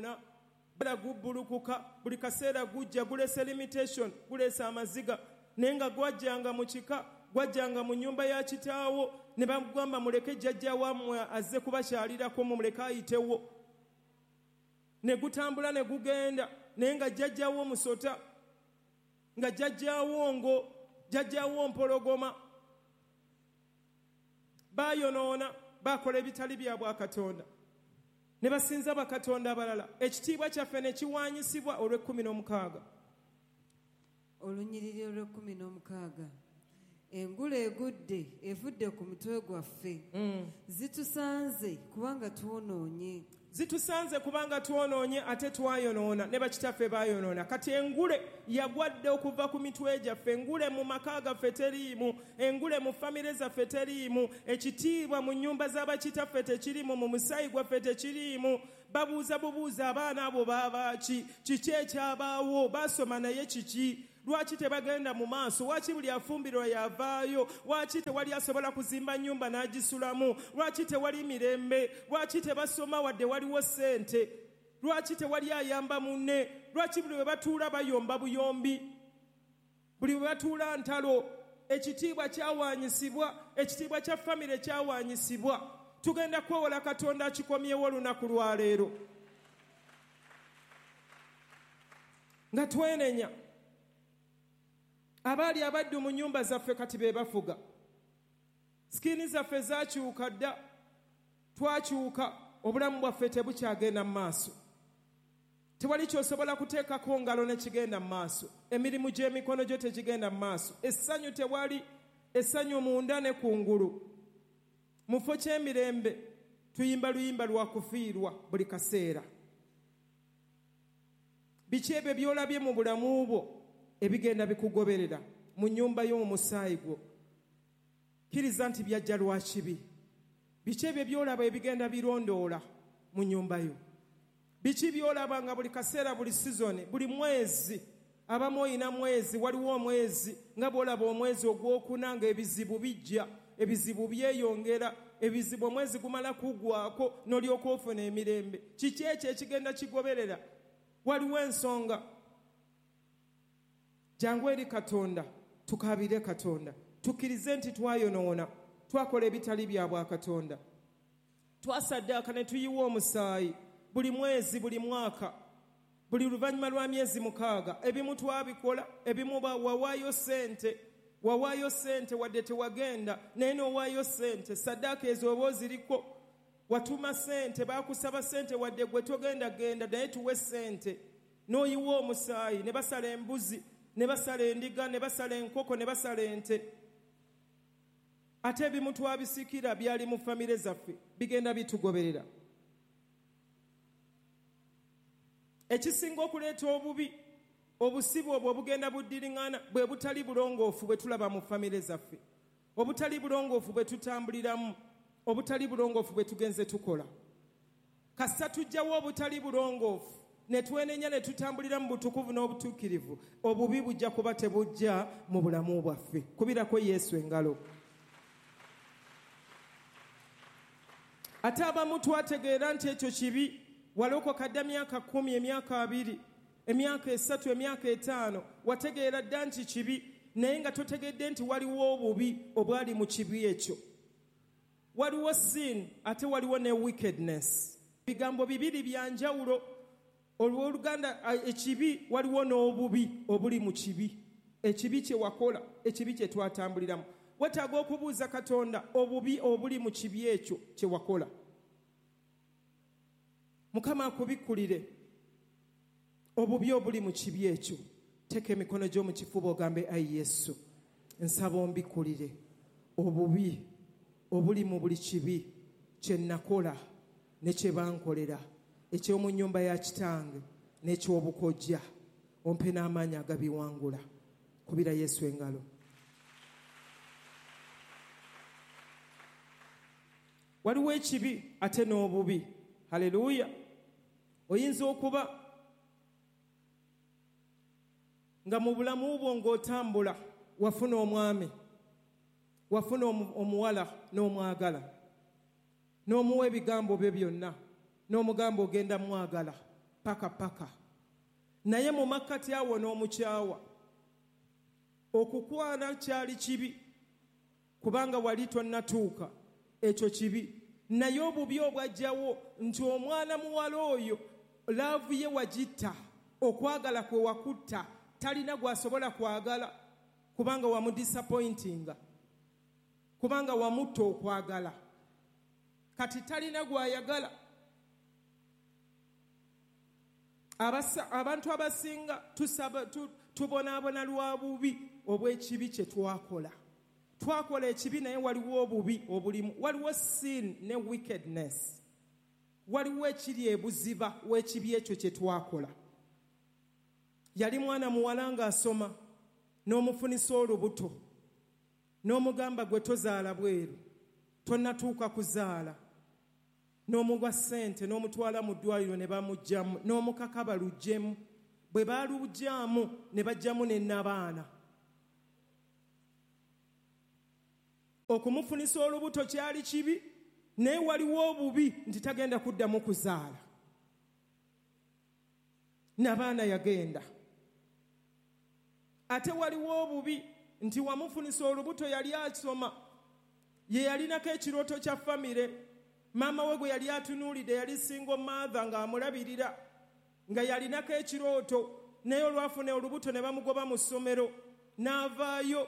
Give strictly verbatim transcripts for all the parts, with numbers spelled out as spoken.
twayonoona. Bala gubbulukuka buli kaseera gujja gulese limitation, gulese amaziga. Naye nga gwajjanga mu kika, gwajjanga mu nnyumba ya kitaawo, ne bamugamba muleke jjajja wammwe azze kubakyalirako, mumuleke ayitewo. Ne gutambula ne gugenda, naye nga jjajjawo musota, nga jjajjawo ngo, jjajjawo mpologoma. Bayonoona, bakola ebitali bya bwakatonda, ne basinza bakatonda abalala. Ekitiibwa kyaffe ne kiwaanyisibwa olw'ekkumi n'omukaaga. Olunyiriri olw'ekkumi n'omukaaga. Engule egudde evudde ku mutwe gwaffe. Mm. Zitusanze kubanga twonoonye. Zitusanze kubanga twonoonye, ate twayonoona ne bakitaffe baayonoona. Kati engule yagwadde okuva ku mitwe gyaffe, engule mu maka gaffe teriimu, engule mu famire zaffe teriimu, ekitiibwa mu nnyumba z'abakitaffe tekiriimu, mu musaayi gwaffe tekiriimu. Babuuza bubuuza abaana abo baaba ki? Kiki ekyabaawo? Baasoma naye kiki? Lwaki tebagenda mu maaso? Lwaki buli afumbirwa yavaayo? Lwaki tewali asobola kuzimba nnyumba n'agisulamu? Lwaki tewali mirembe? Lwaki tebasoma wadde waliwo ssente? Lwaki tewali ayamba munne? Lwaki buli we batuula bayomba buyombi? Buli we batuula ntalo. Ekitiibwa kyawaanyisibwa, ekitiibwa kya famire kyawaanyisibwa. Tugenda kwewola Katonda akikomyewo olunaku lwaleero nga twenenya. Abaali abaddu mu nnyumba zaffe kati be bafuga. Sikini zaffe zaakyuka dda, twakyuka, obulamu bwaffe tebukyagenda mu maaso. Tewali ky'osobola kuteekako ngalo ne kigenda mu maaso. Emirimu gy'emikono gyo tegigenda mu maaso. Essanyu tewali, essanyu munda ne kungulu. Mu kifo ky'emirembe tuyimba luyimba lwa kufiirwa buli kaseera. Biki ebyo by'olabye mu bulamu bwo ebigenda bikugoberera mu nnyumba yo, mu musaayi gwo? Kkiriza nti byajja lwa kibi. Biki ebyo by'olaba ebigenda birondoola mu nnyumba yo? Biki by'olaba nga buli kaseera, buli sizoni, buli mwezi? Abamu oyina mwezi, waliwo omwezi nga bw'olaba omwezi ogwokuna ng'ebizibu bijja, ebizibu byeyongera, ebizibu omwezi gumala kuggwako n'olyoka ofuna emirembe. Kiki ekyo ekigenda kigoberera? Waliwo ensonga. Jangu eri Katonda, tukaabire Katonda, tukkirize nti twayonoona, twakola ebitali bya bwakatonda, twasaddaaka ne tuyiwa omusaayi buli mwezi, buli mwaka, buli luvannyuma lwa myezi mukaaga. Ebimu twabikola, ebimu wawaayo ssente, wawaayo ssente wadde tewagenda, naye n'owaayo ssente. Saddaaka ezo oba oziriko, watuma ssente, baakusaba ssente wadde gwe togenda genda, naye tuwe ssente, n'oyiwa omusaayi, ne basala embuzi, ne basala endiga, ne basala enkoko, ne basala ente. Ate ebimu twabisikira byali mu famire zaffe, bigenda bitugoberera. Ekisinga okuleeta obubi, obusibu obwo obugenda buddiriŋŋana bwe butali bulongoofu bwe tulaba mu famire zaffe, obutali bulongoofu bwe tutambuliramu, obutali bulongoofu bwe tugenze tukola. Kasita tujjawo obutali bulongoofu ne twenenya ne tutambulira mu butukuvu n'obutuukirivu, obubi bujja kuba tebujja mu bulamu bwaffe. Kubirako Yesu engalo. Ate abamu twategeera nti ekyo kibi, walokoka dda myaka kkumi, emyaka abiri, emyaka esatu, emyaka etaano, wategeera dda nti kibi, naye nga totegedde nti waliwo obubi obwali mu kibi ekyo. Waliwo sin ate waliwo ne wickedness. Bigambo bibiri bya njawulo. Olw'oluganda ekibi, waliwo n'obubi obuli mu kibi. Ekibi kye wakola, ekibi kye twatambuliramu. Weetaaga okubuuza Katonda obubi obuli mu kibi ekyo kye wakola. Mukama akubikkulire obubi obuli mu kibi ekyo. Teeka emikono gyo mu kifuba ogambe, ayi Yesu, nsaba ombikkulire obubi obuli mu buli kibi kye nakola ne kye bankolera, eky'omu nnyumba ya kitange n'eky'obukojja, ompe n'amaanyi agabiwangula. Kubira Yesu engalo. Waliwo ekibi ate n'obubi. Haleluya. Oyinza okuba nga mu bulamu bwo ng'otambula wafuna omwami, wafuna omuwala n'omwagala, n'omuwa ebigambo bye byonna, n'omugamba ogenda mwagala, paka paka. Naye mu makkati awo n'omukyawa. Okukwana kyali kibi kubanga wali tonnatuuka, ekyo kibi. Naye obubi obwajjawo nti omwana muwala oyo love ye wagitta, okwagala kwe wakutta, talina gw'asobola kwagala kubanga wamudisappointinga, kubanga wamutta okwagala. Kati talina gw'ayagala. Abasa, abantu abasinga tusaba, tu, tubonaabona lwa bubi obw'ekibi kye twakola. Twakola ekibi naye waliwo obubi obulimu, waliwo sin ne wickedness, waliwo ekiri ebuziba w'ekibi ekyo kye twakola. Yali mwana muwala ng'asoma, n'omufunisa olubuto, n'omugamba gwe tozaala bweru, tonnatuuka kuzaala, n'omuwa ssente n'omutwala mu ddwaliro ne bamuggyamu, n'omukaka baluggyemu. Bwe baaluggyamu ne baggyamu ne nnabaana. Okumufunisa olubuto kyali kibi, naye waliwo obubi nti tagenda kuddamu kuzaala. Nabaana yagenda. Ate waliwo obubi nti wamufunisa olubuto yali asoma, ye yalinako ekirooto kya famire, maama we gwe yali atunuulidde yali single mother ng'amulabirira, nga yalinako ekirooto, naye olwafuna olubuto ne bamugoba mu ssomero n'avaayo.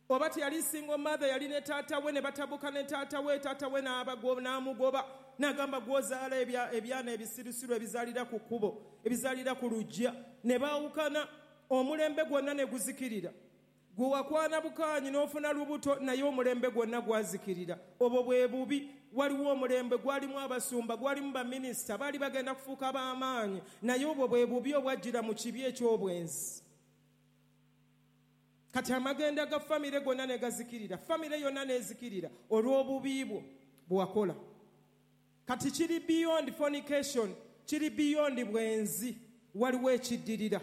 Oba teyali single mother, yali ne taata we ne batabuka ne taata we, taata we n'amugoba n'agamba gw'ozaala ebyana ebisirusiru ebizaalira ku kkubo, ebizaalira ku luggya, ne baawukana, omulembe gwonna ne guzikirira. Gwe wakwana bukaanyi n'ofuna lubuto, naye omulembe gwonna gwazikirira. Obwo bwe bubi. Waliwo omulembe gwalimu abasumba, gwalimu baminisita, baali bagenda kufuuka b'amaanyi, naye obwo bwe bubi obwajjira mu kibi eky'obwenzi. Kati amagenda ga famire gonna ne gazikirira, famire yonna n'ezikirira olw'obubi bwo bwe wakola. Kati kiri beyond fornication, kiri beyond bwenzi, waliwo ekiddirira,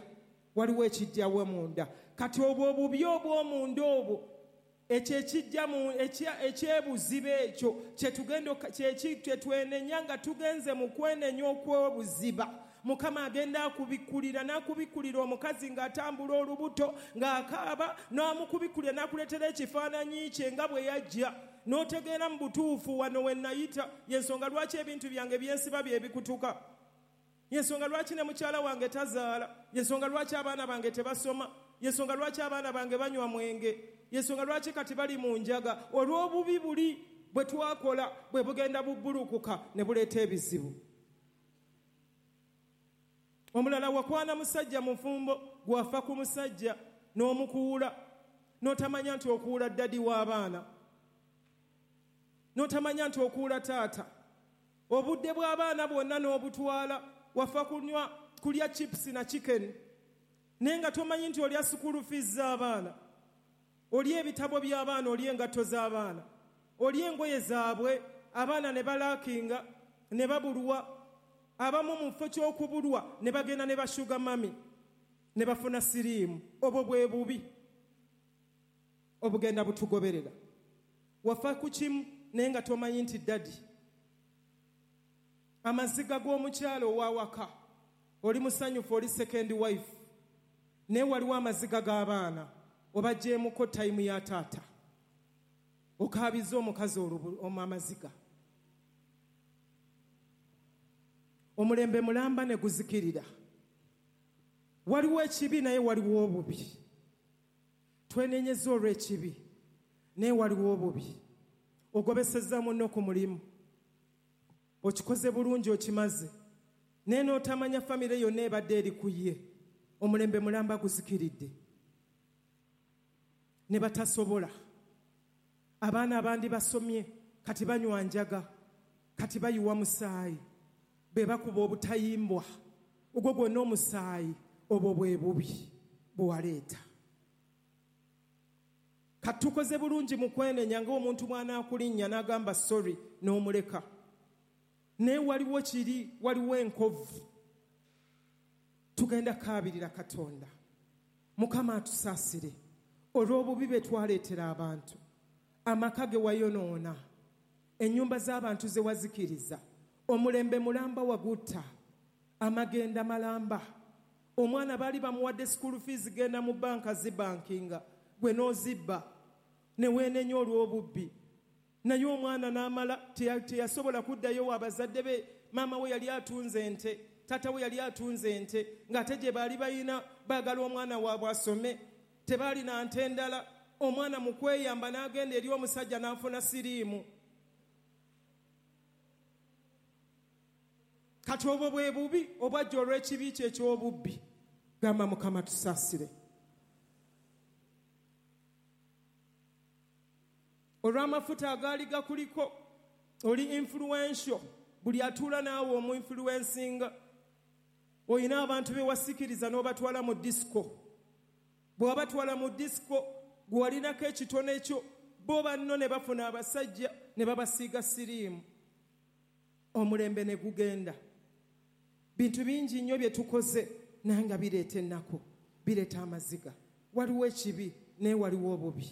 waliwo ekijjawo munda. Kati obwo obubi obw'omunda obwo, ekyo ekijja mu ekyebuziba ekyo kyetugenda kye twenenya nga tugenze mu kwenenya okw'obuziba. Mukama agenda akubikkulira n'akubikkulira omukazi ng'atambula olubuto ng'akaaba, n'amukubikkulira n'akuleetera ekifaananyi kye nga bwe yajja, n'otegeera mu butuufu wano we nayita. Y'ensonga lwaki ebintu byange byensiba bye bikutuka, y'ensonga lwaki ne mukyala wange tazaala, y'ensonga lwaki abaana bange tebasoma, y'ensonga lwaki abaana bange banywa mwenge, y'ensonga lwaki kati bali mu njaga. Olw'obubi buli bwe twakola bwe bugenda bubbulukuka ne buleeta ebizibu. Omulala wakwana musajja mufumbo, gwafa ku musajja n'omukuula, n'otamanya nti okuula ddadi w'abaana, n'otamanya nti okuula taata. Obudde bw'abaana bwonna n'obutwala, wafa kunywa kulya chips na chicken, naye nga tomanyi nti olya school fees z'abaana, olya ebitabo by'abaana, olya engatto z'abaana, olya engoye zaabwe, abaana ne balaakinga ne babulwa. Abamu mu kifo ky'okubulwa ne bagenda ne bashuga mami ne bafuna siriimu. Obwo bwe bubi obugenda butugoberera. Wafa ku kimu naye nga tomanyi nti ddadi. Amaziga g'omukyalo ow'awaka, oli musanyufu, oli second wife, naye waliwo amaziga g'abaana, obagyemuko tayimu ya taata, okaabiza omukazi amaziga. Omulembe mulamba ne guzikirira. Waliwo ekibi naye waliwo obubi. Twenenyeza olw'ekibi naye waliwo obubi. Ogobesezza munno ku mulimu, okikoze bulungi, okimaze, naye n'otamanya famire yonna ebadde eri ku ye. Omulembe mulamba guzikiridde ne batasobola. Abaana abandi basomye kati banywa njaga, kati bayiwa musaayi, be bakuba obutayimbwa, ogwo gwonna omusaayi, obwo bwe bubi bwe waleeta. Kati tukoze bulungi mu kwenenya ng'omuntu bw'anaakulinnya n'agamba sorry n'omuleka, naye waliwo kiri, waliwo enkovu. Tugenda kaabirira Katonda. Mukama atusaasire olw'obubi bwe twaleetera abantu, amaka ge wayonoona, ennyumba z'abantu ze wazikiriza, omulembe mulamba wagutta. Amagenda malamba. Omwana baali bamuwadde school fees, genda mu banka zibankinga, gwe n'ozibba ne weenenya olw'obubbi. Naye omwana n'amala teyasobola kuddayo abazadde be. Maama we yali atunze ente, taata we yali atunze ente, ng'ate gye baali bayina baagala omwana waabwe asome, tebaalina nte ndala. Omwana mu kweyamba n'agenda eri omusajja n'afuna siriimu. Kati obwo bwe bubi obwajja olw'ekibi kye eky'obubbi. Gamba Mukama tusaasire. Olw'amafuta agaali gakuliko, oli influential, buli atuula naawe omu influencinga. Olina abantu be wasikiriza n'obatwala mu disco. Bw'obatwala mu disco, gwe walinako ekitone kyo, bo banno ne bafuna abasajja ne babasiiga siriimu. Omulembe ne gugenda. Bintu bingi nnyo bye tukoze naye nga bireeta ennaku, bireeta amaziga. Waliwo ekibi naye waliwo obubi.